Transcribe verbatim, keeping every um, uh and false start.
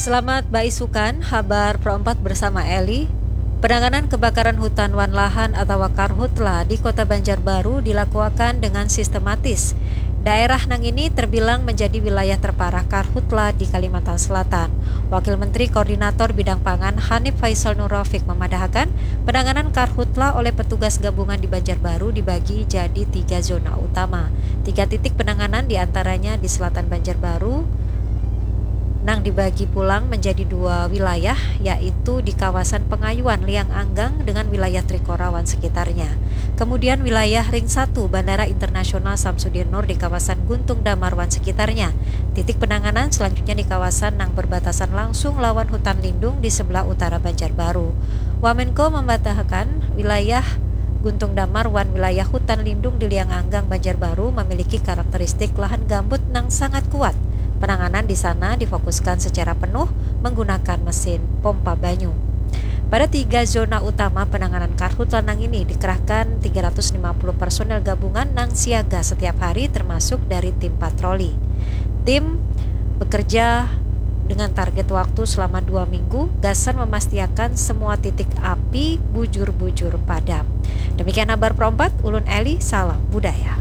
Selamat baisukan, habar Pro empat bersama Eli. Penanganan kebakaran hutan wan lahan atawa karhutla di Kota Banjarbaru dilakuakan dengan sistematis. Daerah nang ini terbilang menjadi wilayah terparah karhutla di Kalimantan Selatan. Wakil Menteri Koordinator Bidang Pangan Hanif Faisal Nur Rafiq memadahakan, penanganan karhutla oleh petugas gabungan di Banjarbaru dibagi jadi tiga zona utama. Tiga titik penanganan diantaranya di selatan Banjarbaru, nang dibagi pulang menjadi dua wilayah, yaitu di kawasan Pengayuan Liang Anggang dengan wilayah Trikora wan sekitarnya. Kemudian wilayah Ring satu Bandara Internasional Samsudinur di kawasan Guntung Damar wan sekitarnya. Titik penanganan selanjutnya di kawasan nang berbatasan langsung lawan hutan lindung di sebelah utara Banjarbaru. Wamenko memadahakan, wilayah Guntung Damar wan wilayah hutan lindung di Liang Anggang Banjarbaru memiliki karakteristik lahan gambut nang sangat kuat. Penanganan di sana difokuskan secara penuh menggunakan mesin pompa banyu. Pada tiga zona utama penanganan karhutla nang ini dikerahkan tiga ratus lima puluh personel gabungan nang siaga setiap hari, termasuk dari tim patroli. Tim bekerja dengan target waktu selama dua minggu gasan memastiakan semua titik api bujur-bujur padam. Demikian habar Pro empat, ulun Eli, salam budaya.